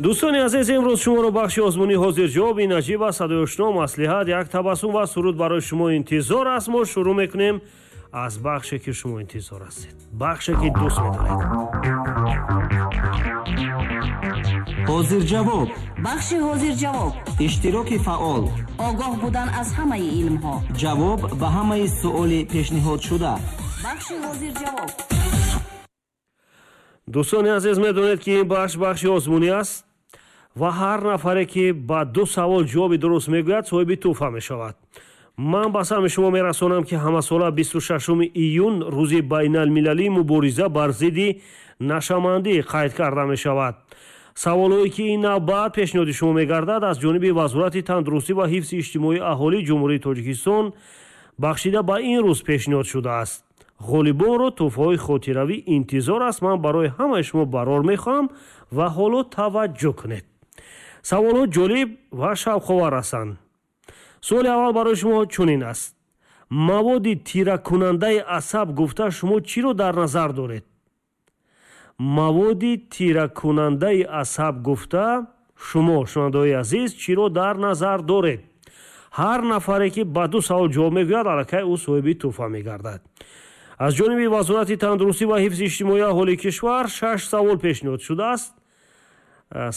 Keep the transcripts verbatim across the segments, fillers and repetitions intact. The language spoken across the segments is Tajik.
Дӯстони азиз, имрӯз шуморо бахши озмунии ҳозирҷавоб, ин аҷиб аст, садои ошно, маслиҳат, як табассум ва суруд барои шумо интизор аст. Мо шурӯъ мекунем аз бахше, ки шумо интизор ҳастед, бахше, ки дӯст медоред. Ҳозирҷавоб. Бахши ҳозирҷавоб. Иштироки фаъол. Огоҳ будан аз ҳамаи илмҳо. Ҷавоб ба ҳамаи суоли пешниҳодшуда. Бахши ҳозирҷавоб. Дӯстони азиз, медонед, ки ин бахш бахши озмунӣ аст ва ҳар нафаре, ки ба ду савол ҷавоби дуруст мегӯяд, соҳиби тӯҳфа мешавад. Ман ба самъи шумо мерасонам, ки ҳамасола бисту шашуми июн рӯзи байналмилалии мубориза бар зидди нашамандӣ қайд карда мешавад. Саволҳое, ки ин навбат пешниҳоди шумо мегардад, аз ҷониби Вазорати тандурустӣ ва ҳифзи иҷтимоии аҳолии Ҷумҳурии Тоҷикистон бахшида ба ин рӯз пешниҳод шудааст. Ғолибонро тӯҳфаҳои хотиравӣ интизор аст. Ман барои ҳамаи шумо барор мехоҳам ва ҳоло таваҷҷӯҳ кунед. Саволҳо ҷолиб ва шавқовар ҳастанд. Суоли аввал барои шумо чунин аст: маводи тиракунандаи асаб гуфта шумо чиро дар назар доред? Маводи тиракунандаи асаб гуфта шумо, шунавандаҳои азиз, чиро дар назар доред? Ҳар нафаре, ки ба ду савол ҷавоб мегӯяд, аллакай ӯ соҳиби тӯҳфа мегардад. Аз ҷониби Вазорати тандурустӣ ва ҳифзи иҷтимоии аҳолии кишвар шаш савол пешниҳод шудааст.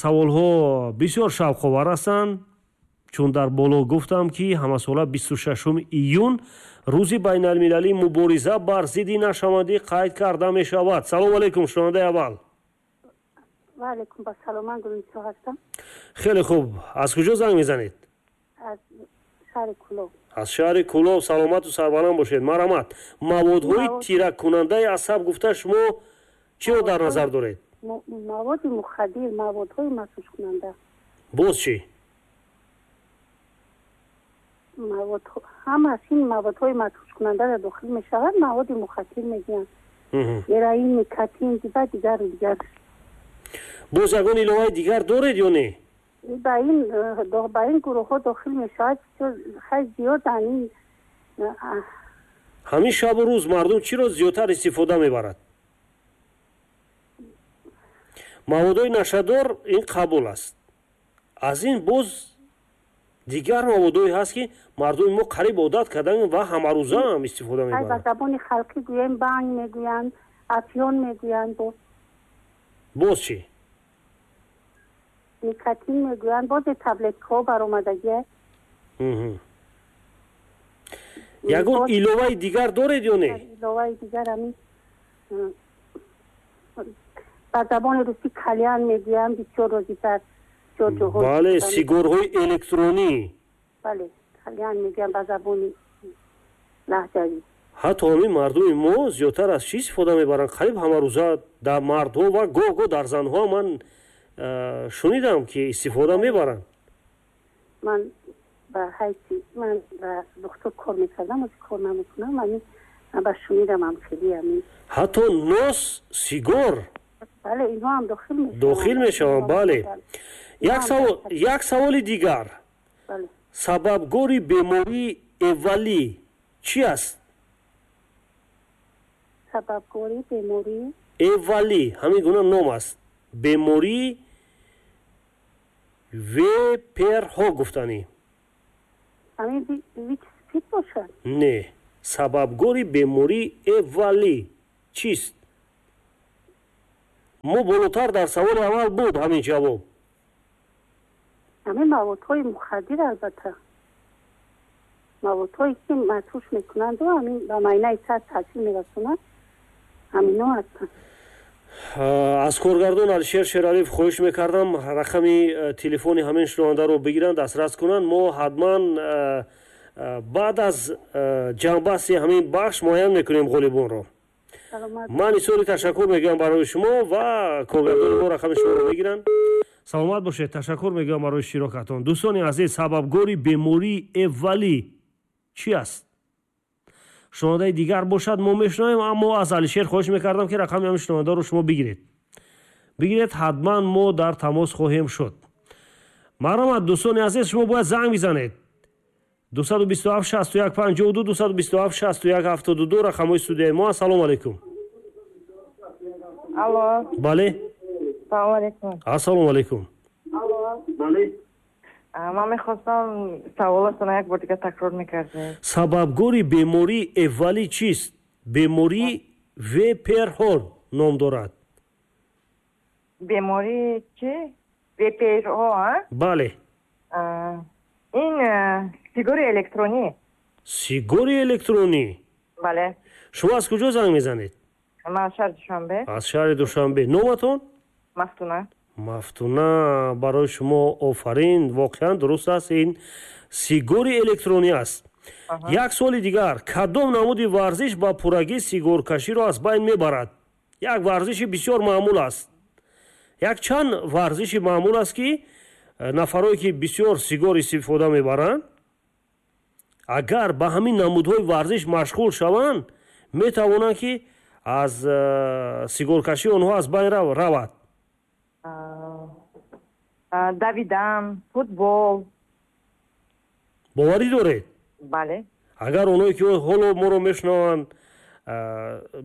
Саволҳо бисёр шавқовар ҳастанд, чун дар боло гуфтам, ки ҳамасола бисту шашуми июн рӯзи байналмилалии мубориза бар зидди нашамандӣ қайд карда мешавад. Салому алайкум, шунавандаи аввал. Ва алайкум ассалом, ман Гулнисо ҳастам. Хеле хуб, аз куҷо занг мезанед? Аз шаҳри Кулоб. Аз шаҳри Кулоб, саломату сарбаланд бошед. Марҳамат, маводҳои тиракунандаи асаб гуфта шумо чиро дар назар доред? Маводи мухаддир, маводҳои масҳушкунанда. Боз чӣ? Ҳамааш ин маводҳои масҳушкунандаро дохил мешавад, маводи мухаддир мегӯянд. Героин, никотин ва дигару дигар. Боз ягон иловаи дигар доред ё не? Ба ин ба ин гурӯҳҳо дохил мешавад, хеле зиёданд ин. Ҳамин шабу рӯз мардум чиро зиёдтар истифода мебарад? Маводҳои нашадор ин қабул аст. Аз ин боз дигар маводҳое ҳаст, ки мардуми мо қариб одат карданд ва ҳамарӯза ҳам истифода мебаранд. Ба забони халқӣ гӯем, банг мегӯянд, афён мегӯянд. Боз боз чӣ? Никотин мегӯянд, бозе таблеткаҳо баромадагия. Ягон иловаи дигар доред ё не? Иловаи дигар ҳамин ба забони русӣ кальян мегӯянд, бисёр розитар. Бале, сигорҳои электронӣ. Бале, кальян мегӯянд ба забони лаҳҷавӣ. Ҳатто ҳамин мардуми мо зиёдтар аз чӣ истифода мебаранд? Қариб ҳамарӯза дар мардҳо ва гоҳ-гоҳ дар занҳо ман шунидам, ки истифода мебаранд. Ман ба ҳайси ман ба духтур кор мекардам, ози кор намекунам, ҳамин ба шунидам ҳам хеле ҳамин. Ҳатто нос, сигор. Бале, инҳо ҳам дохил мешаванд. Дохил мешаванд, бале. Як савол, як саволи дигар. Сабабгори бемории эвалӣ чӣ аст? Сабабгори бемории эвалӣ, ҳамин гуна ном аст. Бемории веперҳо гуфтанӣ. Ҳамин вич спид бошад? Не, сабабгори бемории эвалӣ чист? Мо болотар дар саволи аввал буд ҳамин ҷавоб. Ҳамин маводҳои мухаддир, албатта маводҳое, ки масҳуш мекунанду ҳамин ба майнаи сар таъсир мерасонанд, ҳамино ҳастанд. Аз коргардон Алишер Шералиев хоҳиш мекардам, рақами телефони ҳамин шунавандаро бигиранд, дастрас кунанд. Мо ҳатман баъд аз ҷамъбасти ҳамин бахш муайян мекунем ғолибонро. Ман изҳори ташаккур мегӯям барои шумо ва коргардони мо рақами шуморо мегиранд. Саломат бошед, ташаккур мегӯям барои иштирокатон. Дӯстони азиз, сабабгори бемории эвалӣ чӣ аст? Шунавандаи дигар бошад, мо мешунавем, аммо аз Алишер хоҳиш мекардам, ки рақами ҳамин шунавандаро шумо бигиред. Бигиред, ҳатман мо дар тамос хоҳем шуд. Марҳамат, дӯстони азиз, шумо бояд занг бизанед. Дусаду бисту ҳафт шасту як панҷоҳу ду, дусаду бисту ҳафт шасту як ҳафтоду ду рақамҳои студияи мо. Ассалому алайкум. Алло. Бале. Салому алайкум. Ассалому алайкум. Ман мехостам саволатонро як бор дигар такрор мекардед. Сабабгори бемории эвалӣ чист? Бемории Веперҳо ном дорад. Бемории чӣ? Веперҳо, а? Бале. Ин сигори электронӣ. Сигори электронӣ? Бале. Шумо аз куҷо занг мезанед? Ман аз шаҳри Душанбе. Аз шаҳри Душанбе. Номатон? Мафтуна. Мафтуна, барои шумо офарин. Воқеан дуруст аст, ин сигори электронӣ аст. Як суоли дигар. Кадом намуди варзиш ба пуррагӣ сигоркаширо аз байн мебарад? Як варзиши бисёр маъмул аст. Як чанд варзиши маъмул аст, ки нафарое ки бисёр сигор истифода мебаранд, агар ба ҳамин намудҳои варзиш машғул шаванд, метавонанд, ки аз сигоркашии онҳо аз байн равад. Давидан, футбол. Боварӣ доред? Бале. Агар онҳое ки ҳоло моро мешунаванд,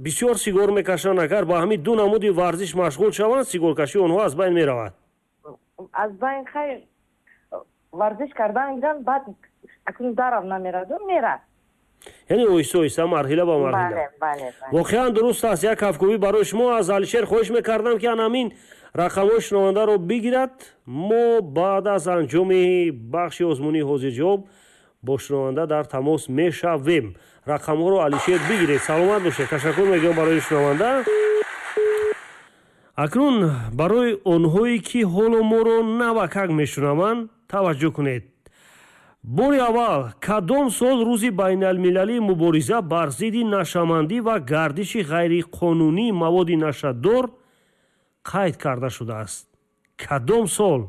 бисёр сигор мекашанд, агар ба ҳамин ду намуди варзиш машғул шаванд, сигоркашии онҳо аз байн меравад. Аз байн хайр, варзиш кардан гиранд, баъд акнун дарав намераду, мерад. Яъне оҳиста оҳиста, марҳила ба марҳила. Воқеан дуруст аст. Як кафкӯбӣ барои шумо. Аз Алишер хоҳиш мекардам, ки ан ҳамин рақамҳои шунавандаро бигирад. Мо баъд аз анҷоми бахши озмунии ҳозирҷавоб бо шунаванда дар тамос мешавем. Рақамҳоро Алишер бигиред. Саломат бошед. Ташаккур мегӯям барои шунаванда. Акнун барои онҳое ки ҳоло моро навакак мешунаванд, таваҷҷӯҳ кунед. Бори аввал кадом сол рӯзи байналмилалии мубориза бар зидди нашъамандӣ ва гардиши ғайриқонунии маводи нашъадор қайд карда шудааст? Кадом сол?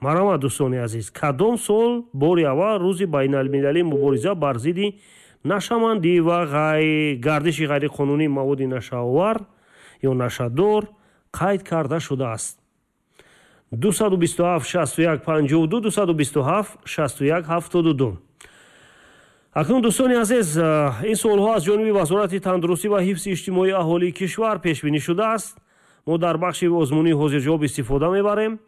Марҳамат, дӯстони азиз, кадом сол бори аввал рӯзи байналмилалии мубориза бар зидди нашъамандӣ ва гардиши ғайриқонунии маводи нашъаовар ё нашъадор қайд карда шудааст? Дусаду бисту ҳафт шасту як панҷоҳу ду, дусаду бисту ҳафт шасту як ҳафтоду ду. Акнун, дӯстони азиз, ин суолҳо аз ҷониби Вазорати тандурустӣ ва ҳифзи иҷтимоии аҳолии кишвар пешбинӣ шудааст. Мо дар бахши озмунии ҳозирҷавоб истифода мебарем.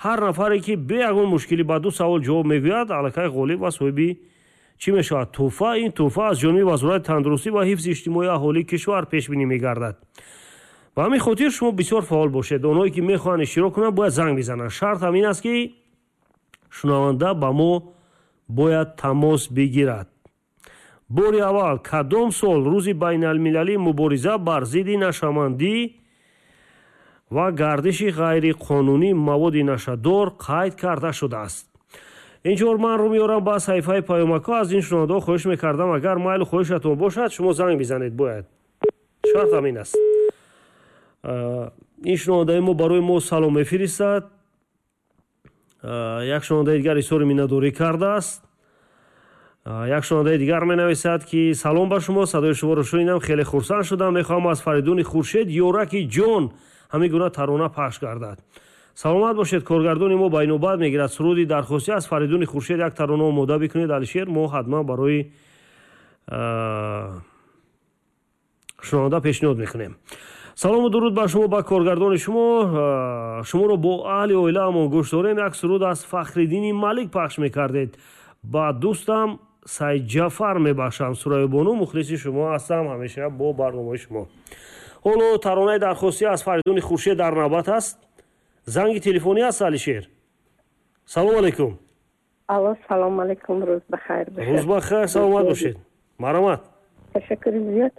Ҳар нафаре ки бе ягон мушкилӣ ба ду савол ҷавоб мегӯяд, аллакай ғолиб ва соҳиби чӣ мешавад? Тӯҳфа. Ин тӯҳфа аз ҷониби Вазорати тандурустӣ ва ҳифзи иҷтимоии аҳолии кишвар пешбинӣ мегардад. Ба ҳамин хотир шумо бисёр фаъол бошед. Онҳое ки мехоҳанд иштирок кунанд, бояд занг бизананд. Шарт ҳамин аст, ки шунаванда ба мо бояд тамос бигирад. Бори аввал кадом сол рӯзи байналмилалии мубориза бар зидди нашъамандӣ ва гардиши ғайриқонунии маводи нашъадор қайд карда шудааст? Инҷор ман рӯ меорам ба саҳифаи паёмакҳо. Аз ин шунавандаҳо хоҳиш мекардам, агар майлу хоҳишатон бошад, шумо занг бизанед. Бояд шарт ҳамин аст. Ин шунавандаи мо барои мо салом мефиристад. Як шунавандаи дигар изҳори миннатдорӣ кардааст. Як шунавандаи дигар менависад, ки салом ба шумо, садои шуморо шунидам, хеле хурсанд шудам. Мехоҳам аз Фаридуни Хуршед ёраки ҷон ҳамин гуна тарона пахш гардад. Саломат бошед. Коргардони мо ба инобат мегирад суруди дархостӣ аз Фаридуни Хуршед як тарона омода бикунед, Алишер. Мо ҳатман барои шунаванда пешниҳод мекунем. Салому дуруд ба шумо, ба коргардони шумо. Шуморо бо аҳли оилаамон гӯш дорем. Як суруд аз Фахриддини Малик пахш мекардед. Ба дӯстам Сайдҷафар мебахшам. Сурайёбону, мухлиси шумо ҳастам, ҳамеша бо барномаи шумо. Ҳоло таронаи дархостӣ аз Фаридуни Хуршед дар навбат аст. Занги телефонӣ аст, Алишер. Салому алайкум. Алло, салому алайкум, рӯз бахайр бошед. Рӯз бахайр, саломат бошед. Марҳамат. Ташаккури зиёд.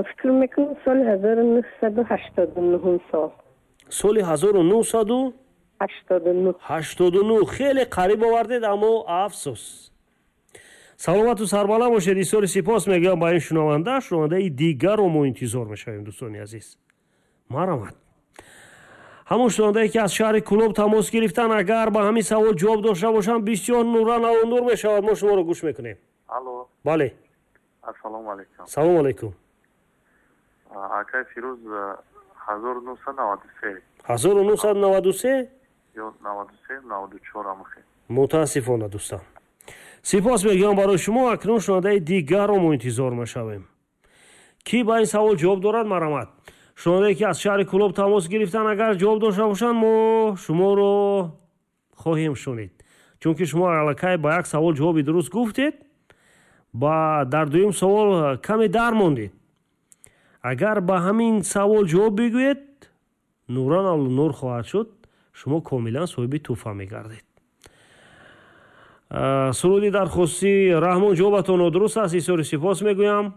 Фикр мекунам соли ҳазору нӯҳсаду ҳаштоду нӯҳум сол. Соли ҳазору нӯҳсаду ҳаштоду нӯҳ. Ҳаштоду нӯҳ. Хеле қариб овардед, аммо афсӯс. Саломату сарбаланд бошед. Изҳори сипос мегӯям ба ин шунаванда. Шунавандаи дигарро мо интизор мешавем, дӯстони азиз. Марҳамат. Ҳамон шунавандае ки аз шаҳри Кӯлоб тамос гирифтан, агар ба ҳамин савол ҷавоб дошта бошанд, бисёр нуран нур мешавад. Мо шуморо гӯш мекунем. Алло. Бале. Ассалому алайкум. Салому алайкум. Акай Фирӯз, ҳазору нӯҳсаду наваду се. Ҳазору нӯҳсаду наваду се? Ё наваду се, наваду чор амхе. Мутаассифона, дӯстам. Сипос мегӯям барои шумо. Акнун шунавандаи дигарро мо интизор мешавем. Кӣ ба ин савол ҷавоб дорад, марҳамат. Шунавандае ки аз шаҳри Кӯлоб тамос гирифтан, агар ҷавоб дошта бошанд, мо шуморо хоҳем шунид, чунки шумо аллакай ба як савол ҷавоби дуруст гуфтед, ба дар дуюм савол каме дармондед. Агар ба ҳамин савол ҷавоб бигӯед, нуран алнур хоҳад шуд, шумо комилан соҳиби тӯҳфа мегардед. Суруди дархостӣ Раҳмон, ҷавобатон нодуруст аст, изҳори сипос мегӯям.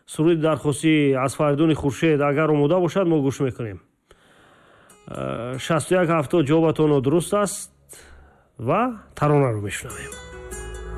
Суруди дархостӣ аз Фаридуни Хуршед агар омода бошад, мо гӯш мекунем. Шасту як ҳафтод, ҷавобатон нодуруст аст ва таронаро мешунавем.